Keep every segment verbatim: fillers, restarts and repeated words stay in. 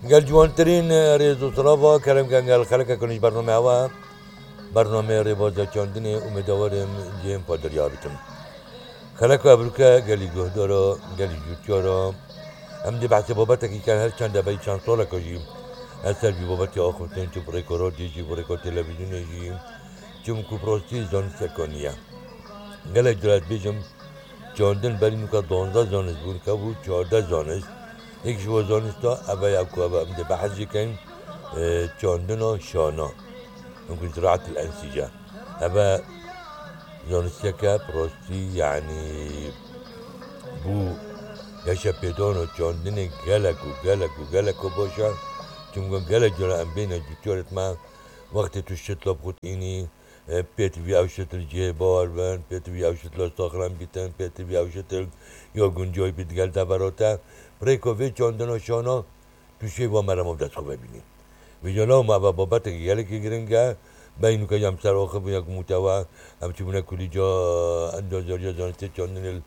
Gel ciwantirîn rêz û silava kerem ken gel xeleke ku nîş bername hewa, bername rêbaza çandinê, umêdawar im cihên pa derya bitim. Xeleko evroke gelî guhdara, gelî cûtyara, em dê behsê babetekî ken her çend de bey çend saleka jî ez ser vî babetê axiftin, çi bi rêka radyoyê jî, bi rêka televîzyonê jî, çimku bi rastî zanisteka nî ye. Gelek cara ez bêjim, çandin berî nûka duwazdeh zanist bûn, ke bû çardeh zanist. Yek ji we zanista, ev e ya ku ev e, em dê behs jê kein, e, çandina şana. Hingû ziraatil ensîce. Ev e zanisteke bi rastî, yanî bû geşepêdana çandinê gelek û gelek û gelek û baş e. Çimku gelek cara em bêne cûtyarêt me, wextê tu şitla bi xwe tînî, e, pêtivî ew şitil cihê bar bin, pêtivî ew şitla saxlem bîtin, pêtivî ew şitil ya guncay bît gel devera te. Bi rêka vê çandina şana tu şêva merema bi dest xwe ve bînî. Vêca lawma eva babetekî gelekî giring e. Bey nûke em ser axifbûn ya ku mûtewa, em çûbûne kulîca endazariya zanistê çandinê li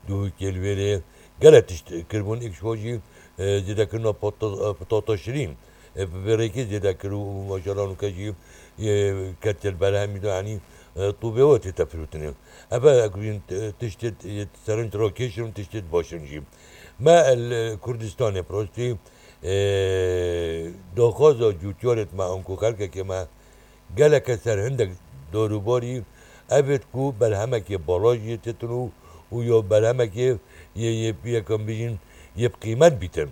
Duhokê li wêrê. Gelek tişt kiribûn, êk ji wan jî, e, zêdekirina pata-, e, pitata şirîn. E, bi vê rêkê zêde kir û maşallah nûke jî, e, ketiye li berhemî de, yanî, e, tûbê we tête firotinê. Ev e, ku yên, e, tiştê, e, serinc rakêş in, tiştê baş in jî. Me li Kurdistanê bi rastî, e, daxwaza cûtyarêt me, anku xelkekê me geleke ser hindek dorûbarî, evêt ku berhemekê bala jî têtin û, û ya berhemekê yê, yê, yê, kan bijîn, yê bi qîmet bîtin.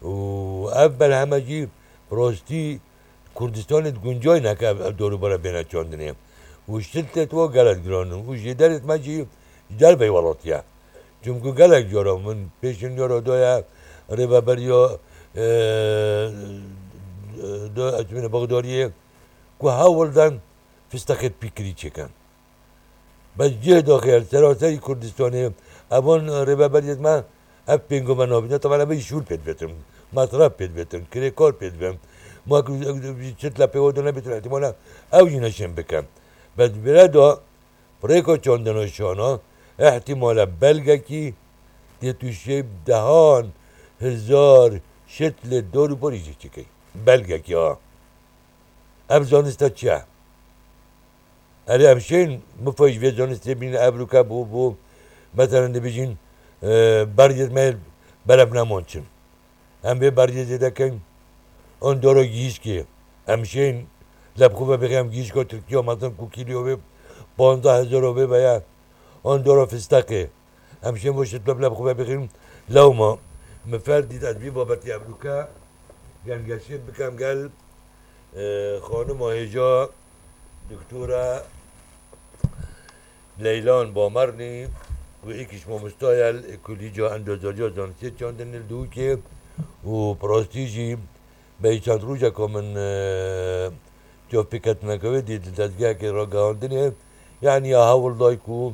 Û ev berheme jî bi rastî Kurdistanê di guncayî neke ev, ev dorûbara bêne çandinê. Û şiltêt wa gelek giran in. Û jêderêt me jî ji derveyî welatî ye. Çimku gelek cara min pêşniyara daye rêveberiya, e, da, ez bîne Bexdariyê ku hewl den fistexêt pîkirî çêkin. Bes cih daxê li seraserî Kurdistanê evan rêveberiyêt me ev pêngo me nabîne. Teban ev şûl pê dibetin, mesref pê dibetin, kirêkar pê dibin. Ma ku çit le pêwa de nebêtin, ihtimale ew jî neşên bikin. Bes vêre de bi rêka çandina şana, ihtimale belgekî tê tu şê dehan hezar şit lê dor û borî jî çikey. Belgekî ha. Ev zanista çi ye? Erê, em şên mifayî ji vê zanistê bînin, evroke bû, bû, meselen, dibêjin, e, beriyê me berevneman çin. Em vê beriyê zêde kein. An dora gihîşkê. Em şên lê bi xwe ve bixin, em gihîşka Tirkiya, mezin ku kîloya wê panzdeh hezar wê veye. An dora fistexê. Em şên bo şit bi bila bi xwe ve bixîn. Lewma min fer dît ez vî babetî evroke gengeşê bikem gel, e, xanima hêja doktora Leylan Bamernî, ku êk ji mamosta ye li Kulîca Endozariya Zanistê Çandinê li Dûkê û bi rastî jî beyî çend rojeka min, e, cevpêketineke wê dît li dezgehekê ragihandinê, yanî ya hewl day ku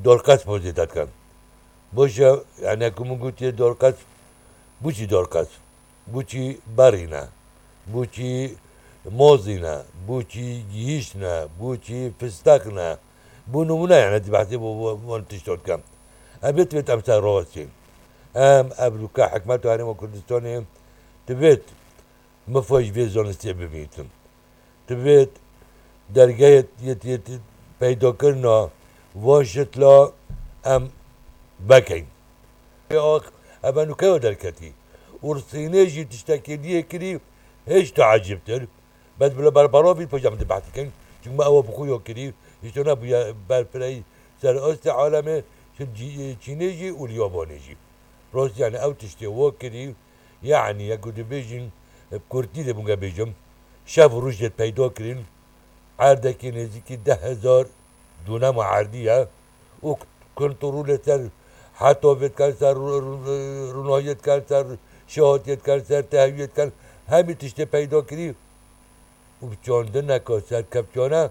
dorqesp zêde dikin. Baş e, yanî ku min gotiye dorqesp, bûçî dorqesp? Bûçî berî ne? Bûçî mozî ne? Bûçî gihîş ne? Bûçî fisteq ne? Bo nimûne, yanî ez behsê bo, bo, van tiştan dikim. Em bê divêt em ser rawestîn. Em evroke hikûmeta Herêma Kurdistanê divêt mifayî vê zanistê bibîtin. Divêt dergehê yet, yet, peydakirina van şitla em vekeyn. Ê ax, ev nûke yo derketî. Û Sînê jî tiştekê diyê kirî hêj teecibtir. Bes bila berbaravî pêş em dibehs dikin. Çimku ew bi xwe yo kirî. Hîç nebûye berfirehî ser astê alemê. Şi Çî-, Çînê jî û li Yabanê jî. Rastî, yanî ew tiştê wo kirî. Yanî, ya ku dibêjin, bi kurtî dê bûnge bêjim, şev û roj dê peyda kirin, erdekî nêzîkî deh hezar dûnema erdî ye û kontrolê ser heta vê dikan, ser rû-, rû-, rûnahiyê dikan, ser şehatiyê dikan, ser tehwiyê dikan, hemî tiştê peyda kirî û bi çandineka serkevtiyane,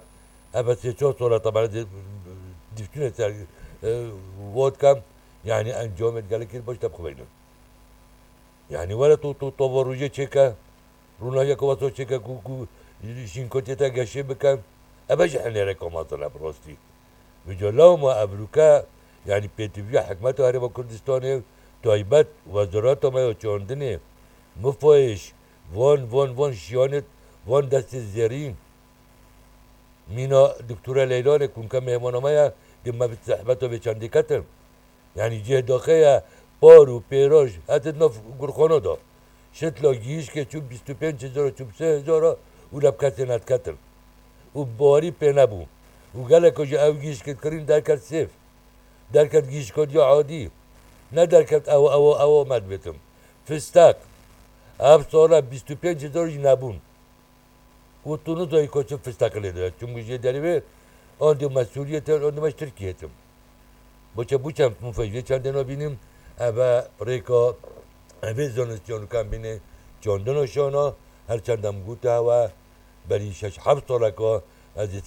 ev sê çar sal e, teban dî-, dîfçûnê ser, e, vat kem, yanî encamê gelekî baş te bixweynin. Yanî were tu, tu, tu tova rojê çêke, rûnahiyeke wesa çêke ku, ku şînkotiyê te geşê bike. Ev jî hinêreka mezin e bi rastî. Vêca lewma evroke, yanî pêtiviya hikûmeta Herêma Kurdistanê, taybet Wezareta me ya Çandinê, mifayê ji Van, van, van şiyanit, van destê zêrîn. Mîna Doktora Leylanê kunke mêhmana me ye, di me bi zehmeta vê çendê ketin. Yanî cih daxê ye, par û pêraj hetin nav gurxana da. Şitla gihîşkê çû bîst û pênc hezar, çû sê hezar û leb kesê nediketin. Û bawerî pê nebû. Û geleka ji ew gihîşkê kirîn derket sêv. Derket gihîşka diya adî. Ne derket ew, ew, ew me dibêtim. Fistek. Ev sala bîst û pênc hezar jî nebûn. Û tu nizayî ka çi fistek lê dibe. Çimkî jê derê wê, an dê me Sûriyê tim, an dê me ji Tirkiyê tim. Boçe bû çend mufej vê çendê nabînim, eve rêka, evê zanistiyan û kembînê çandina şana, her çend em gote hewe, berî şeş heft saleka ez ê ser